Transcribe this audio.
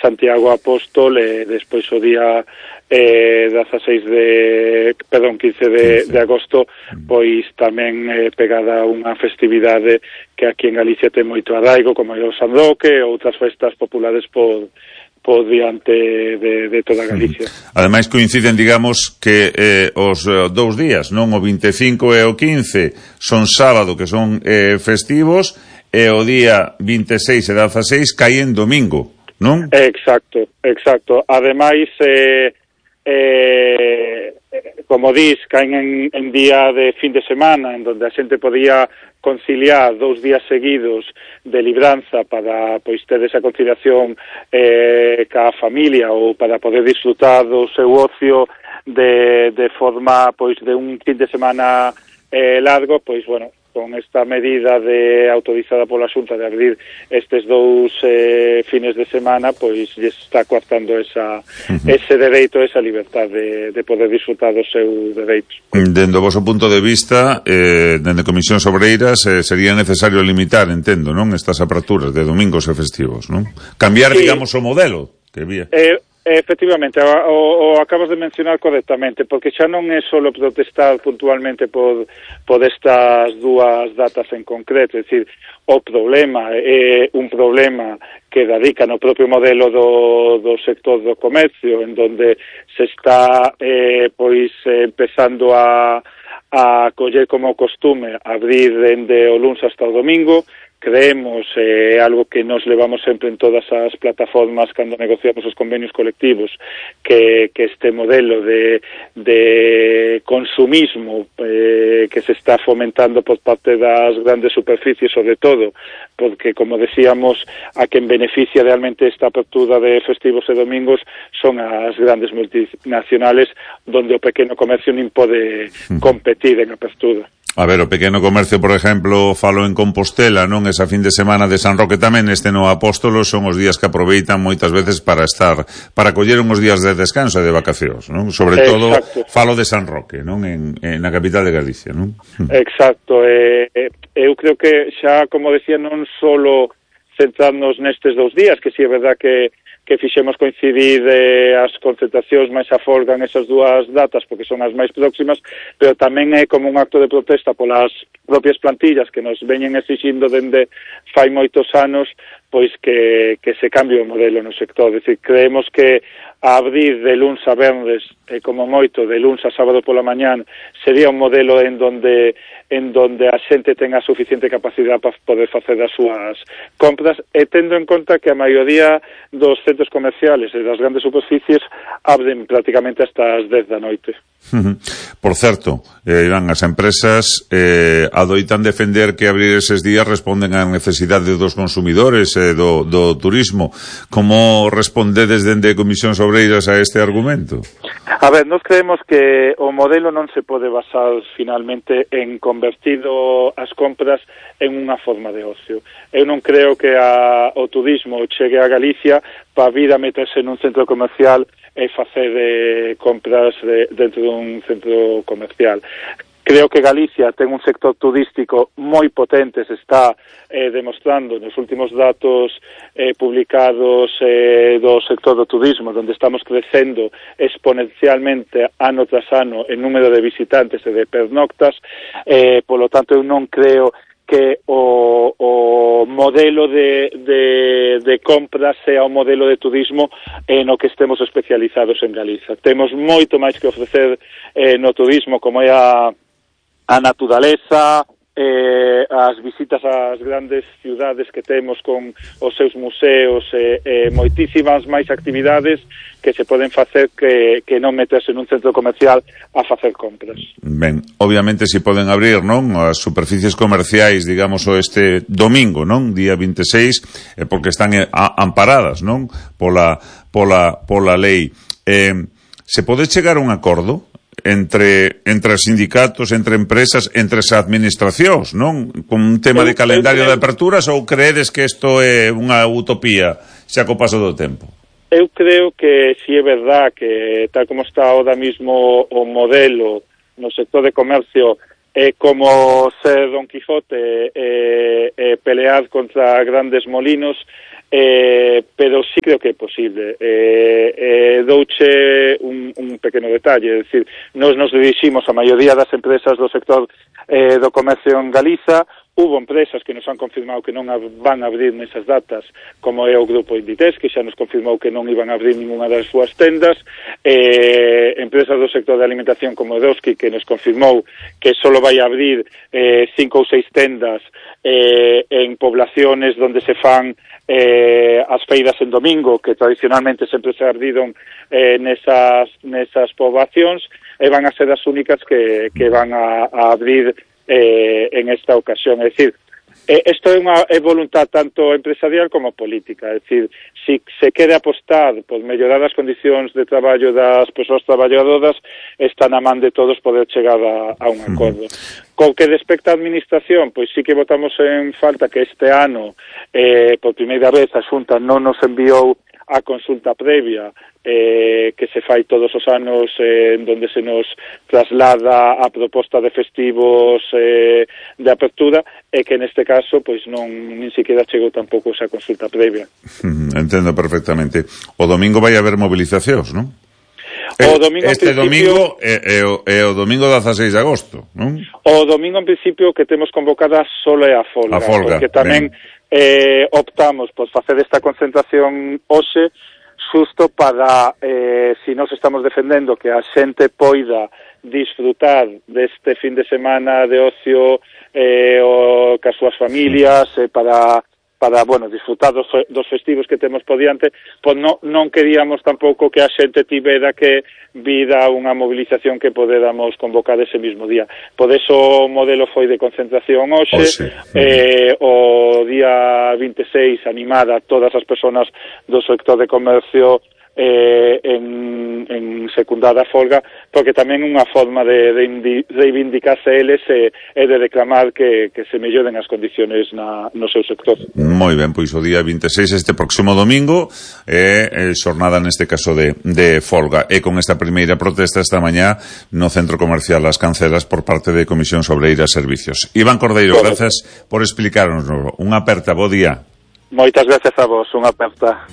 Santiago Apóstol, e despois o día 15 de agosto, pois tamén pegada unha festividade que aquí en Galicia ten moito arraigo, como é o San Roque e outras festas populares por diante de toda Galicia. Ademais coinciden, digamos, que os 2 días, non? O 25 e o 15 son sábado, que son festivos, e o día 26 e 16 caen domingo, non? Exacto. Ademais, como dis, caen en día de fin de semana, en donde a xente podía conciliar 2 días seguidos de libranza para pois ter esa conciliación ca familia, ou para poder disfrutar do seu ocio de forma pois de un fin de semana largo, pois bueno, con esta medida autorizada pola Xunta de abrir estes 2 fines de semana, pois lle está coartando ese dereito, esa liberdade de poder disfrutar dos seus dereitos. Dende o vosso punto de vista, dende Comisións Obreiras, sería necesario limitar, entendo, non? Estas aperturas de domingos e festivos, non? Cambiar, digamos, o modelo que había. Efectivamente, o acabas de mencionar correctamente, porque xa non é só protestar puntualmente por estas 2 datas en concreto, é dicir, o problema é un problema que radica no propio modelo do sector do comercio, en donde se está empezando a coller como costume abrir dende o luns hasta o domingo. Creemos, algo que nos levamos sempre en todas as plataformas cando negociamos os convenios colectivos, que este modelo de consumismo que se está fomentando por parte das grandes superficies, sobre todo, porque, como decíamos, a quen beneficia realmente esta apertura de festivos e domingos son as grandes multinacionales, donde o pequeno comercio nin pode competir en apertura. A ver, o pequeno comercio, por exemplo, falo en Compostela, non? Esa fin de semana de San Roque tamén, no Apóstolo, son os días que aproveitan moitas veces para coller uns días de descanso e de vacacións, non? Sobre todo, falo de San Roque, non? En a capital de Galicia, non? Exacto, eu creo que xa, como decía, non solo centrarnos nestes 2 días, que si é verdad que fixemos coincidir as concentracións máis a folga en esas 2 datas, porque son as máis próximas, pero tamén é como un acto de protesta polas propias plantillas que nos veñen exixindo dende fai moitos anos, pois que se cambie o modelo no sector. É dicir, creemos que abrir de luns a venres, como moito, de luns a sábado pola mañán, sería un modelo en donde a xente tenga suficiente capacidade para poder facer as súas compras, e tendo en conta que a maioría dos centros comerciales e das grandes superficies abren prácticamente hasta as 10 da noite. Por certo, Iván, as empresas adoitan defender que abrir eses días responden á necesidade dos consumidores e do turismo. Como respondedes dende Comisións Obreiras a este argumento? A ver, nós creemos que o modelo non se pode basar finalmente en convertir as compras en unha forma de ocio. Eu non creo que o turismo chegue a Galicia para vir a meterse nun centro comercial e facer compras dentro dun centro comercial. Creo que Galicia ten un sector turístico moi potente, se está demostrando nos últimos datos publicados do sector do turismo, onde estamos crecendo exponencialmente ano tras ano en número de visitantes e de pernoctas, polo tanto eu non creo que o modelo de compras sea o modelo de turismo no que estemos especializados en Galiza. Temos moito máis que ofrecer no turismo, como é a naturaleza, as visitas ás grandes ciudades que temos con os seus museos, moitísimas máis actividades que se poden facer que non meterse nun centro comercial a facer compras. Ben, obviamente si poden abrir, non, as superficies comerciais, digamos, este domingo, non, día 26, porque están amparadas, non, pola lei. Se pode chegar a un acordo entre os sindicatos, entre empresas, entre as administracións, non? Con un tema de calendario de aperturas, ou creedes que isto é unha utopía xa co paso do tempo? Eu creo que si é verdad que tal como está ahora mismo o modelo no sector de comercio é como ser Don Quijote e pelear contra grandes molinos, pero sí creo que é posible. Douche un pequeno detalle, é dicir, nos diriximos a maioría das empresas do sector do comercio en Galiza. Hubo empresas que nos han confirmado que non van a abrir nesas datas, como é o grupo Inditex, que xa nos confirmou que non iban a abrir ninguna das súas tendas, empresas do sector de alimentación como Edoski, que nos confirmou que só vai a abrir 5 ou 6 tendas en poblaciones donde se fan as feiras en domingo, que tradicionalmente sempre se abriron nesas poboacións, e van a ser as únicas que van a abrir en esta ocasión. É dicir, isto é voluntad tanto empresarial como política. É dicir, si se quere apostar por mellorar as condicións de traballo das persoas traballadoras, está na man de todos poder chegar a un acordo. Co que respecta á administración, pois sí que votamos en falta que este ano, por primeira vez, a Xunta non nos enviou a consulta previa que se fai todos os anos, en donde se nos traslada a proposta de festivos de apertura, e que neste caso pois nin siquiera chegou tampouco esa consulta previa. Entendo perfectamente. O domingo vai haber movilizacións, non? Este domingo é o domingo 16 de agosto, non? O domingo en principio que temos convocada solo é a folga, porque tamén optamos por facer esta concentración hoxe xusto para, si nos estamos defendendo que a xente poida disfrutar deste fin de semana de ocio cas súas familias, para disfrutar dos festivos que temos por diante, pois non queríamos tampouco que a xente tivera que vir a unha movilización que poderamos convocar ese mismo día. Por eso o modelo foi de concentración hoxe, o día 26 animar a todas as persoas do sector de comercio en secundar a folga, porque tamén unha forma de reivindicarse eles e de reclamar que se melloren as condiciones no seu sector. Moi ben, pois o día 26, este próximo domingo, é xornada neste caso de folga, e con esta primeira protesta esta mañá no Centro Comercial As Cancelas por parte de Comisión Obreira Servicios. Iván Cordeiro, grazas por explicarnos. Unha aperta, bo día. Moitas gracias a vos, unha aperta.